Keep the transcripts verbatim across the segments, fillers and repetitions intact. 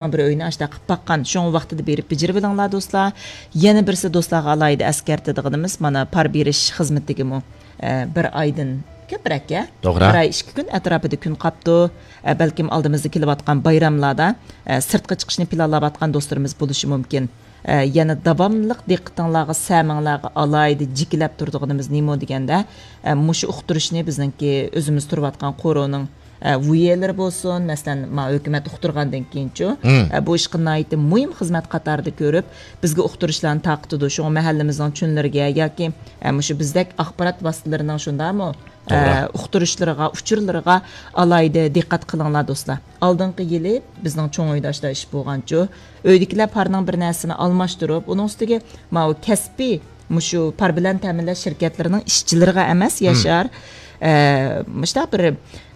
بىر ئۆينى ئاشتا قىلىپ باققان. شۇڭا ۋاقتىدا بېرىپ بېجىرىۋېلىڭلار، دوستلار. يەنە بىرسى، دوستلارغا ئالاھىدە ئەسكەرتىدىغىنىمىز، مانا، پار بېرىش خىزمىتىگىمۇ، ئە، بىر ئايدىن كۆپرەك، ئە؟ توغرا. بىر ئاي ئىككى كۈن ئەتراپىدا كۈن قاپتۇ. ئە، بەلكىم ئالدىمىزدا كېلىۋاتقان بايراملاردا، ئە، سىرتقا چىقىشنى پىلانلاۋاتقان دوستلىرىمىز بولۇشى مۇمكىن. ئە، يەنە داۋاملىق دىققىتىڭلارغا، سەمىڭلارغا ئالاھىدە جىكىلەپ تۇرىدىغىنىمىز نېمە دېگەندە، ئە، مۇشۇ ئۇقتۇرۇشنى بىزنىڭكى ئۆزىمىز تۇرۇۋاتقان قورۇنىڭ، ئە، ۋۇيەلىرى بولسۇن، مەسىلەن، ما ھۆكۈمەت ئۇقتۇرغاندىن كېيىنچۇ، مم. ئە، بۇ ئىشقا ناھايىتى مۇھىم خىزمەت قاتارىدا كۆرۈپ، بىزگە ئۇقتۇرۇشلارنى تارقىتىدۇ. شۇڭا مەھەللىمىزنىڭ چۈنلىرىگە ياكى، ئە، مۇشۇ بىزدەك ئاخبارات ۋاسىتىلىرىنىڭ شۇنداقمۇ، توغرا. ئە، ئۇقتۇرۇشلىرىغا، ئۇچۇرلىرىغا ئالاھىدە دىققەت قىلىڭلار، دوستلار. ئالدىنقى يىلى بىزنىڭ چوڭ ئۆيدە ئاشۇنداق ئىش بولغانچۇ، ئۆيدىكىلەر پارنىڭ بىر نەرسىنى ئالماشتۇرۇپ، ئۇنىڭ ئۈستىگە ماۋۇ كەسپىي، مۇشۇ پار بىلەن تەمىنلەش شىركەتلىرىنىڭ ئىشچىلىرىغا ئەمەس، مم. ياشار، ئە، مۇشۇنداق بىر،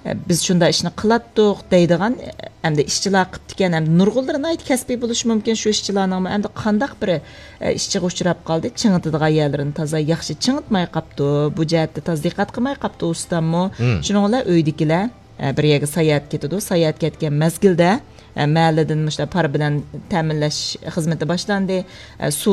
ئە، بىز شۇنداق ئىشنى قىلاتتۇق دەيدىغان، ئەمدى ئىشچىلار قىپتىكەن، ئەمدى نۇرغۇنلىرى ناھايىتى كەسپىي بولۇشى مۇمكىن شۇ ئىشچىلارنىڭمۇ. ئەمدى قانداق بىر، ئە، ئىشچىغا ئۇچراپ قالدى، چىڭىتىدىغان يەرلىرىنى تازا ياخشى چىڭىتماي قاپتۇ، بۇ جەھەتتە تازا دىققەت قىلماي قاپتۇ ئۇستاممۇ. مم. شۇنىڭ بىلەن ئۆيدىكىلەر، ئە، بىر يەرگە ساياھەتكە كېتىدۇ. ساياھەتكە كەتكەن مەزگىلدە، ئە، مەھەللىدىن مۇشۇنداق پار بىلەن تەمىنلەش خىزمىتى باشلاندى. ئە، سۇ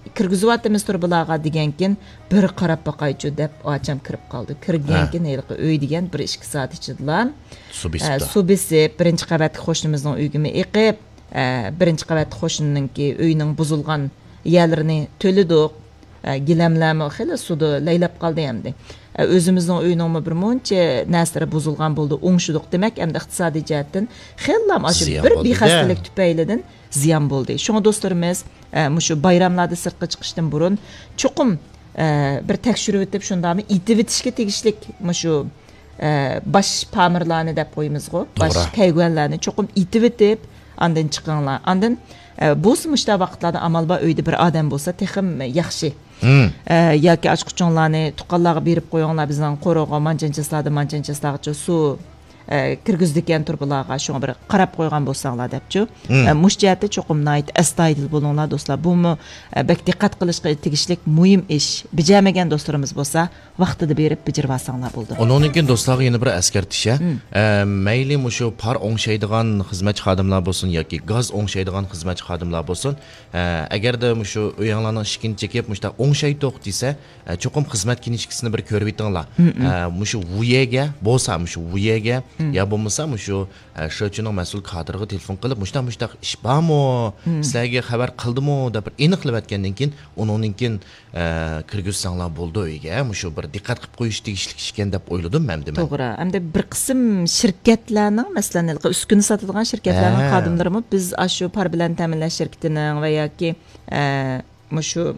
كىرگۈزۈۋاتىمىز تۇرۇبىلارغا دېگەنكىن، بىر قاراپ باقايچۇ دەپ ئاچام كىرىپ قالدى. كىرگەنكىن ھېلىقى ئۆي دېگەن بىر ئىككى سائەت ئىچىدىلا، سۇ بېسىپتۇ. ئە، سۇ بېسىپ، بىرىنچى قەۋەتلىك قوشنىمىزنىڭ ئۆيىگىمۇ ئېقىپ، ئە، بىرىنچى قەۋەتلىك قوشنىنىڭكى ئۆيىنىڭ بۇزۇلغان يەرلىرىنى تۆلىدۇق. ئە، گىلەملەرمۇ خېلى سۇدا لەيلەپ قالدى ئەمدى. ئە، ئۆزىمىزنىڭ ئۆيىنىڭمۇ بىر مۇنچە نەرسىلىرى بۇزۇلغان بولدى، ئوڭشىدۇق. دېمەك، ئەمدى ئىقتىسادىي جەھەتتىن خېلىلا ئاشۇ زىيان بىر بولدى-دە. بىخەستەلىك تۈپەيلىدىن زىيان بولدى. شۇڭا دوستلىرىمىز، ئە، مۇشۇ بايراملاردا سىرتقا چىقىشتىن بۇرۇن چوقۇم، ئە، بىر تەكشۈرۈۋېتىپ، شۇنداقمۇ ئېتىۋېتىشكە تېگىشلىك مۇشۇ، ئە، باش پامىرلارنى دەپ قويىمىزغۇ، باش توغرا. كەيگۈەنلەرنى چوقۇم ئېتىۋېتىپ، ئاندىن چىقىڭلار. ئاندىن، ئە، بولسا مۇشۇنداق ۋاقىتلاردا ئامال بار ئۆيدە بىر ئادەم بولسا تېخىمۇ ياخشى. مم. ئە، ياكى ئاچقۇچۇڭلارنى تۇغقانلارغا بېرىپ قويۇڭلار، بىزنىڭ قورۇغا مانچىنچە چاسلاردىن مانچىنچە چاسلارغىچە سۇ، ئە، كىرگۈزىدىكەن تۇرۇبىلارغا، شۇڭا بىر قاراپ قويغان بولساڭلار دەپچۇ. مم. ئە، مۇشۇ جەھەتتە چوقۇم ناھايىتى ئەستايىدىل بولۇڭلار، دوستلار. بۇمۇ، ئە، بەك دىققەت قىلىشقا تېگىشلىك مۇھىم ئىش. بېجەرمىگەن دوستلىرىمىز بولسا، ۋاقتىدا بېرىپ بېجىرىۋالساڭلار بولىدۇ. ئۇنىڭدىن كېيىن دوستلارغا يەنە بىر ئەسكەرتىش، ھە. مم. ئە، مەيلى مۇشۇ پار ئوڭشايدىغان خىزمەتچى خادىملار بولسۇن ياكى گاز ئوڭشايدىغان خىزمەتچى خادىملار بولسۇن، ئە، ئەگەردە مۇشۇ ئۆيۈڭلارنىڭ ئىشىكىنى چېكىپ، مۇشۇنداق ئوڭشايتتۇق دېسە، ئە، چوقۇم خىزمەت كىنىشكىسىنى بىر كۆرۈۋېتىڭلار. مم، مم. ئە، مۇشۇ ۋۇيەگە بولسا، مۇشۇ ۋۇيەگە مم. يا بولمىسا مۇشۇ، ئە، شىچۈنىڭ مەسئۇل كادىرىغا تېلېفون قىلىپ، مۇشۇنداق، مۇشۇنداق ئىش بارمۇ؟ مم. سىلەرگە خەۋەر قىلدىمۇ؟ دەپ بىر ئېنىقلىۋەتكەندىن كېيىن، ئۇنىڭدىن كېيىن، ئە، كىرگۈزسەڭلار بولىدۇ ئۆيگە. مۇشۇ بىر دىققەت قىلىپ قويۇش تېگىشلىك ئىش ئىكەن دەپ ئويلىدىم مەن، دېمەك. توغرا. ئەمدى بىر قىسىم شىركەتلەرنىڭ، مەسىلەن، ھېلىقى ئۈسكۈنە ساتىدىغان شىركەتلەرنىڭ ھە. خادىملىرىمۇ بىز ئاشۇ پار بىلەن تەمىنلەش شىركىتىنىڭ ۋە ياكى، ئە، مۇشۇ،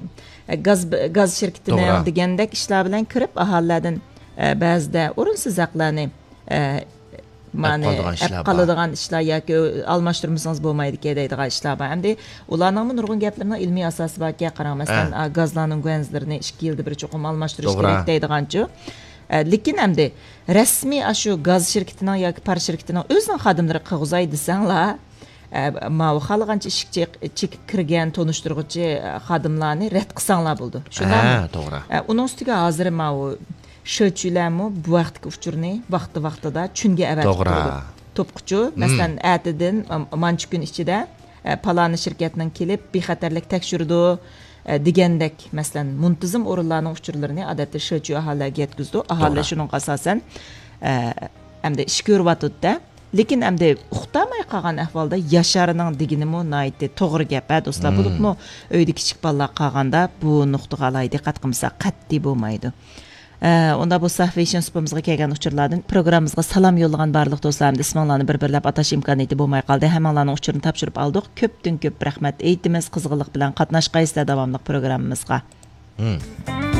ئە، گاز، گاز شىركىتىنىڭ توغرا. دېگەندەك ئىشلار بىلەن كىرىپ، ئاھالىلەردىن، ئە، بەزىدە ئورۇنسىز ھەقلەرنى، ئە، مانى ئەپ قالىدىغان ئىشلار بار. قالىدىغان ئىشلار ياكى ئالماشتۇرمىسىڭىز بولمايدىكەن دەيدىغان ئىشلار بار. ئەمدى ئۇلارنىڭمۇ نۇرغۇن گەپلىرىنىڭ ئىلمىي ئاساسى باركەن. قاراڭ، مەسىلەن، ھە. ئا، گازلارنىڭ گۇەنزىلىرىنى ئىككى يىلدا بىر چوقۇم ئالماشتۇرۇش توغرا. كېرەك دەيدىغانچۇ. ئە، لېكىن ئەمدى رەسمىي ئاشۇ گاز شىركىتىنىڭ ياكى پار شىركىتىنىڭ ئۆزىنىڭ خادىملىرى قىلغۇزاي دېسەڭلار، ئە، ماۋۇ خالىغانچە ئىشىك چېك-، چېكىپ كىرگەن تونۇشتۇرغۇچى، ئە، خادىملارنى رەت قىلساڭلار بولىدۇ. شۇنداقمۇ؟ ھە، توغرا. ئە، ئۇنىڭ ئۈستىگە ھازىر ماۋۇ شۆچۈلەرمۇ بۇ ھەقتىكى ئۇچۇرنى ۋاقتى ۋاقتىدا چۈنگە ئەۋەتىپ توغرا. تۇرىدۇ. توپقۇچۇ، مم. مەسىلەن، ئەتىدىن، ئام-، مانچە كۈن ئىچىدە، ئە، پالانى شىركەتنىڭ كېلىپ بىخەتەرلىك تەكشۈرىدۇ، ئە، دېگەندەك، مەسىلەن، مۇنتىزىم ئورۇنلارنىڭ ئۇچۇرلىرىنى ئادەتتە شۆچۈ ئاھالىلەرگە يەتكۈزىدۇ. ئاھالىلەر توغرا. شۇنىڭغا ئاساسەن، ئە، ئەمدى ئىش كۆرۈۋاتىدۇ-دە. لېكىن ئەمدى ئۇقتۇرماي قالغان ئەھۋالدا ياشارنىڭ دېگىنىمۇ ناھايىتى توغرا گەپ، ھە، دوستلار. مم. بولۇپمۇ ئۆيدە كىچىك بالىلار قالغاندا بۇ نۇقتىغا ئالاھىدە دىققەت قىلمىساق قەتئىي بولمايدۇ. ئە، ئۇندا بولسا، ۋېيشىن سۇپىمىزغا كەلگەن ئۇچۇرلاردىن پروگراممىمىزغا سالام يوللىغان بارلىق دوستلار ھەمدە ئىسمىڭلارنى بىر-بىرلەپ ئاتاش ئىمكانىيىتى بولماي قالدى. ھەممىڭلارنىڭ ئۇچۇرىنى تاپشۇرۇپ ئالدۇق. كۆپتىن كۆپ رەھمەت ئېيتىمىز. قىزغىنلىق بىلەن قاتناشقايسىلەر داۋاملىق پروگراممىمىزغا. مم.